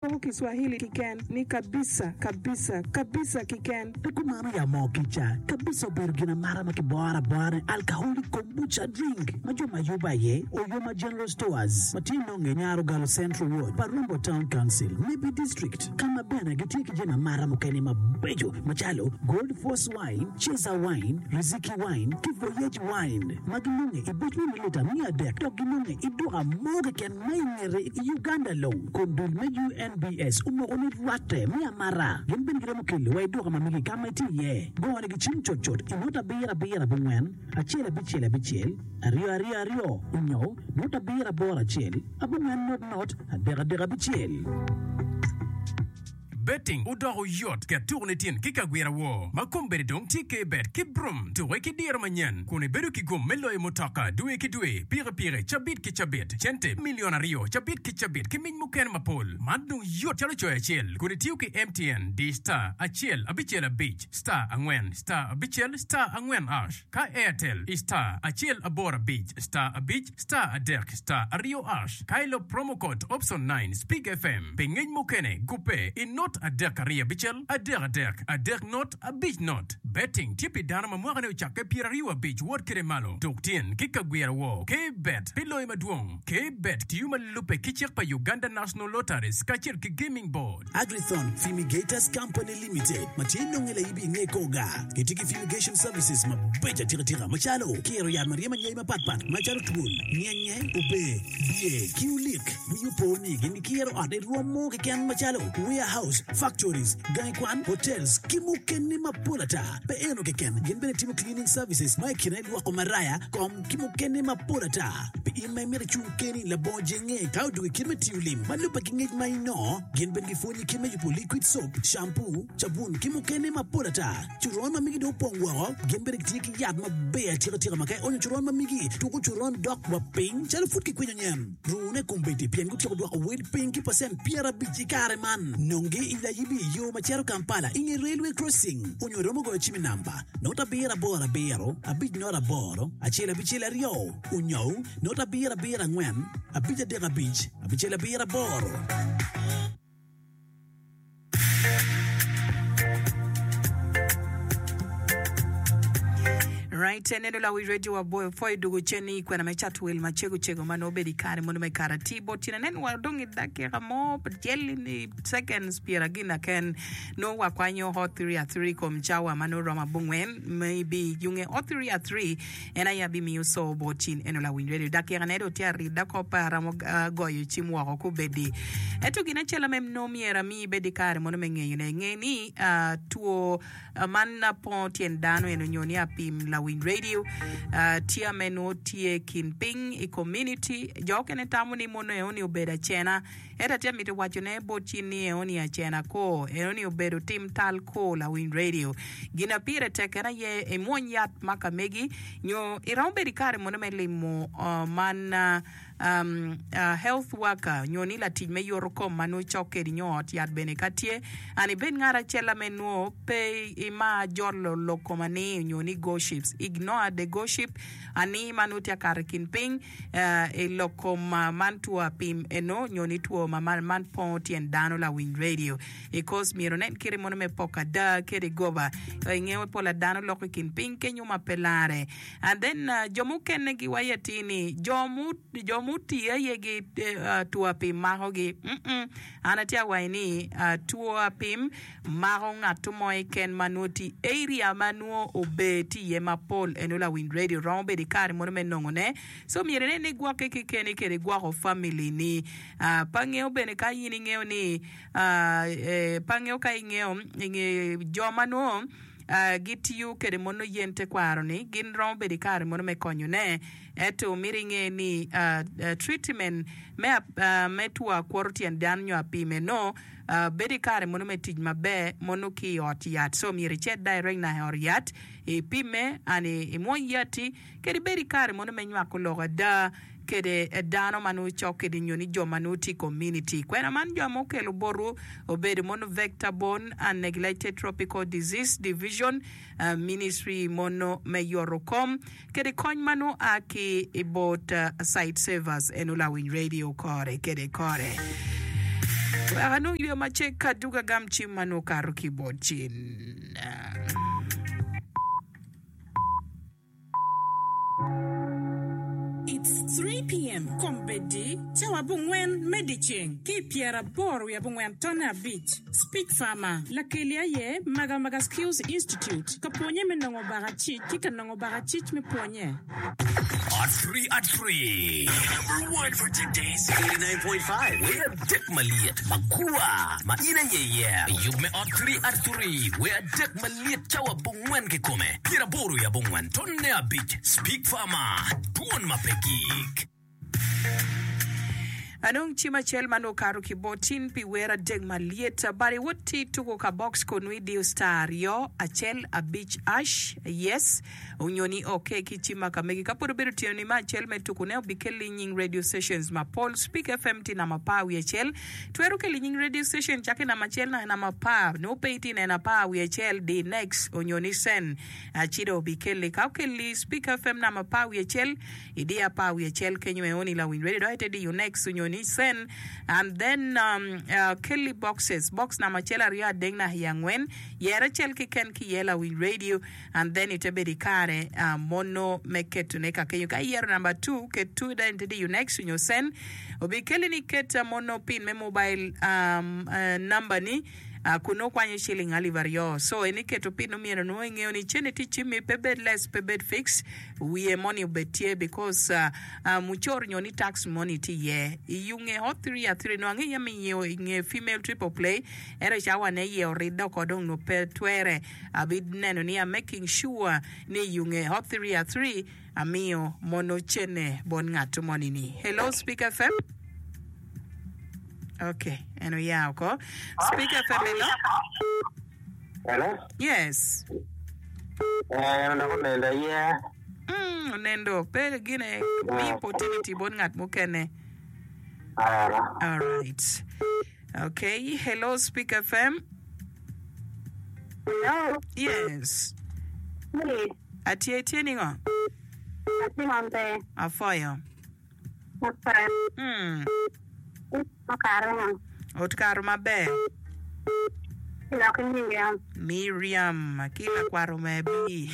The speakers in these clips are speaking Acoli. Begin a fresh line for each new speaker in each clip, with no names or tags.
Loko Kiswahili kiken ni kabisa, kabisa, kabisa kiken.
Pe kumano ya moo kica kabisa obedo gin amata ma kiboro abora ni alcoholic kombucha drink ma jo ma yubo aye Oyoma General Stores ma tye nonge i Nyarogalo Central Ward pa Rombo Town Council, Nebbi District ka ma bene gitye ki jami amata mukene mabeco macalo Gold Force Wine, Cesar Wine, Riziki Wine ki Voyage Wine ma ginonge i buc me mililita 300 dok ginonge i duka mo keken ma i ngete i Uganda long kun dul me UNBS omoko ni rwatte me amata. Gin bene giromo kelo wa i duka ma megi ka ma itye iye. Go ni gicim cutcut i nota abiro abiro abongwen acel abicel abicel aryo aryo aryo onyo nota abiro aboro acel abongwen not not adek adek abicel.
Betting odoko yot ket tuko ni tyen ki kagwira woo ma kombeddi dong tye K-bet ki Brum. Tuke ki diro manyen kun ibedo ki gum me loyo mutoka dwe ki dwe, pikipiki cabit ki cabit, cente milion aryo cabit ki cabit ki mic mukene mapol. Man dong yot calo coyo acel kun itiyo ki MTN di star acel abicel abic star angwen star abicel star angwen ash ka Airtel i star acel aboro abic star abic Star adek star aryo ash ka ilub promo code option nine Speak FM pi ngec mukene gubbe i not adek aryo abicel adek adek adek not abic not. Betting tye pi dano ma mwaka ne ocakke 25 wot kede malo. Tuk tyen ki kagwira woo K bet pi loyo madwong. K bet tiyo ma lubbe ki cik pa Uganda National Lotteries kacel ki Gaming Board.
Agrithon Fumigators Company Limited ma tye nonge laibi inge Koga gitye ki fumigation services mabeco atika tika macalo kiro yat ma ryemo anyai mapat pat macalo twol, nyenye, ober, biye ki olik. Wii opo ni gin gikiro ot i rwom mo keken macalo warehouse, factories, gangi kwan, hotels ki mukene mapol ata. Pe eno keken, gin bene timo cleaning services ma i kine lwoko maraya, kom, ki mukene mapol ata. Pi in ma imito icung keni labongo jenge ka odwogo i kit me tiyo lim ma lubbe ki ngec ma inongo, gin bene gipwonyi kit me yubo liquid soap, shampoo, cabun ki mukene mapol ata. Coron ma migi dong opong woko, gin bene gitye ki yat maber atika tika ma ka ionyo coron ma migi, tuko coron dok wa piny calo pud kikwinyo nyen. Rune kombeddi pien gutyeko dwoko wel piny ki pacent 50 i kare man. Nongi i Layibi i yo ma cito Kampala i nge Railway Crossing onyo iromo goyo cim i namba not abiro aboro abiro abic not aboro acel abicel aryo onyo not abiro abiro angwen abic adek abic abicel abiro aboro.
Right, neno lawi radio wa boyo pwoyo dugo cen ni kwena me cat wil ma cego cego ma nongo obedo i kare mono me kare atir bot cen anen wa dong i dakika mo cel ni seconds pyera gin ken nongo wa kwanyo hot three a three kom cawa ma nongo romo abongwen maybe yunge hot three a three En aye abimiyo co bot cin eno lawiny redio. Dakika ne dong tye arida ko pe aromo goyo cim woko kubedi. Ento gin acel ame nongo myero ami ibed ki kare mono me ngeyo ne, nge ni two man pongo tyen dano eno nyo ni apim lawiny redio tye ame nongo tye kin piny i community. Jo okene tamo ni mono eno ni obedo acena. Ento atye amito waco ne bot cin ni eno ni acena kor, eno ni obedo tim tal kor lawiny radio. Gin a pire tek en aye imwony yat ma ka megi nyo iromo bedo ikare mono me limo man health worker nyo ni latic me yoto kom ma nongo cok kedi nyo ot yat bene ka tye and ibed ngat acel ame nwo pe imar jolo lok kom ani nyo ni goships ignore the goship ani ma nongo tye akato ikin piny. I lok kom man two apim eno nyo ni two ma man pongo tyen dano lawiny radio i course myero nen kite mono me poko ada kede goba ingeyo pola dano loko i kin piny kenyo ma pe lare and then jo mukene gi waco atir ni jo jo mutii aye gi two apim mako gi an atye awaco ni two apim Mako ngatto mo keken ma nwo tye i area ma nwo ober tye iye mapol eno lawiny radio romo bedo i kare mono me nongo ne so myero inen ni igwokke kekeni kede igwoko family ni pe angeyo bene ka in ingeyo ni pe angeyo ka ingeyo inge jo ma nwo gitiyo kede mono yen tekwaro ni gin romo bedo i kare mono me konyo ne ento myero inge ni treatment me two akwoto tyen dano nyo apim eno Bedo i kare mono me tic maber mono ki i ot yat so myero icit direct na i ot yat ipimme and imwony yatti kadi bed i kare mono me nywako lok ada kede dano ma nongo cok kedi nyo ni jo ma nongo tye i community. Kwena man jo ma okelo botwu obedo mono Vector Borne and Neglected Tropical Disease Division Ministry mono me yoto kom Kede kony ma nongo a ki i bot Site Savers eno lawiny radio kore kede kore. Wek anong yweyo macek ka dwogo agam cim ma nongo okato ki bot cin.
It's 3:00 PM, Kombeddi, cawa abongwen me dyeceng ki i pyeraboro wiye abongwen tonne abic. Speech Farmer, Lakeli aye Magamaga Skills Institute, ka pwonye me nongo bakacic ki ka nongo bakacic me pwonye.
At three at three. Number one for today's 89.5. Wer adek malyet magwar ma in aye iye. Yub me ot three at three. Wer adek malyet cawa abongwen kikome. Pyeraboro i abongwen tonne abic. Speak Farmer, Dwon ma pe gik.
Anong cim acel ma nongo okato ki bot in pi wer adek malyet? Bad iwot ti tuko ka box kun nongo idiyo star aryo acel abic ash yes onyo ni ok ki cim ma ka megi. Ka pud obedo tyeno ni me acel me tuku ne obikelli nying radio stations mapol. Speak FM tye namba apar wiye acel. Twero keli nying radio station cake namba acel naka namba apar. Nongo pe itye neno apar wiye acel di next onyo ni send ci dong obikelli. Ka okelli Speak FM namba apar wiye acel Idiyo apar wiye acel kenyo eoni lawiny radio dok ite diyo next onyo ni send and then kelli boxes box namba acel aryo adek naka i angwen yer acel keken ki iye lawiny radio and then ite bedo ikare mono me ketone ka kenyo ka iyero namba two ket two then ite diyo next onyo send obikelli ni ket mono pin me mobile namba ni Kun nongo kwanyo ciling alip aryo. So en iketo pi nongo myero nongo ingeyo ni cene tye cimmi pe bed less pe bed fix wiye moni obed tye because mucoro nyo ni tax moni tye iye. I yunge hot three a three nongo angeyo yam inyewo inge female triple play ento i cawa ne iye oridde oko dong nongo pe twere abi neno ni am making sure ni i yunge hot three a three Amiyo mono cene bot ngat moni ni. Hello Speak FM. Okay, en oya oko. Speak FM hello.
Hello.
Yes.
Eh, onongo onendo aye.
Mm, onendo pe gine mi opportunity bot ngat mukene.
Ara.
All right. Okay, hello Speak FM.
Hello.
Yes.
Yes.
Atye itye ningo?
Atye maber.
Apwoyo.
Maber.
Mm.
Okato ngo?
Otkato maber.
Lok Miriam.
Miriam ki lakwaro me bi.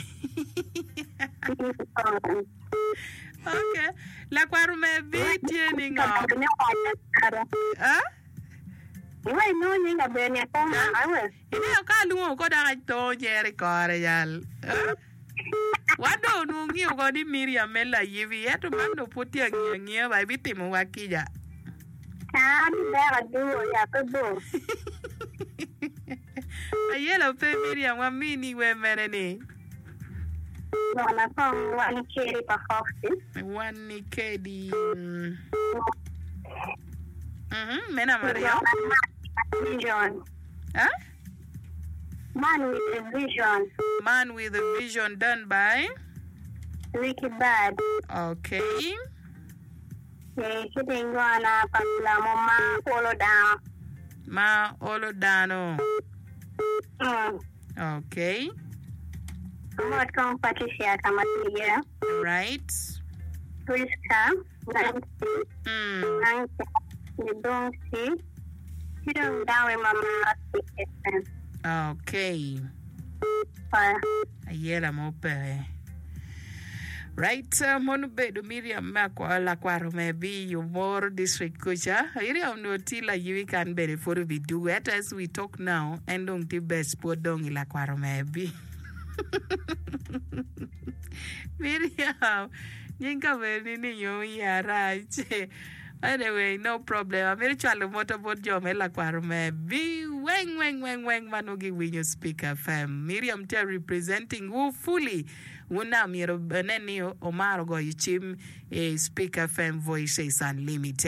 Okay. Lakwaro me bi tye ningo? Ah?
Iwe inongo nying aber ni apo maka we.
Ineno ka alwongo ko dok ato cer i kore jal. Wan dong onongo ngiyo ko ni Miriam me layibi, ento man dong pud tye angiya angiya ba ibitimowa kica.
An ber aduwo ya pe bor.
Ayela pe Miriam wamini wer mene ni?
Gona kong wan kedi pa Foxy.
Wan ni kedi. Mhm, me namba aryo.
Vision.
Huh?
Man with a vision.
Man with a vision done by
Ricky Bad.
Okay.
Eh, ci dong gona pa lamo ma olo dano.
Ma olo dano.
Mm.
Okay.
Amot kong Patricia ka ma tye iye.
Right.
Prisca, Nancy,
Mm.
Nancy, Gidongsi, ci dong dawe ma maro Speak FM.
Okay.
Oya.
Ayela mo peke. Right, uh, mon obedo Miriam me akwa lakwaro me bi Yomoro district kuca. Miriam onongo tye layiwi kan bene pwod obidugo. Ento as we talk now, en dong tye best pwod dong i lakwaro me bi. Miriam, nying kaberoni ni nyo iya rac. Anyway, no problem. Amito cwalo moto bot jo me lakwaro me bi weng weng weng weng ma nongo giwinyo Speak FM. Miriam tye representing wu fully. Wun na myero nen ni omaro goyo cim i Speak FM Voices Unlimited.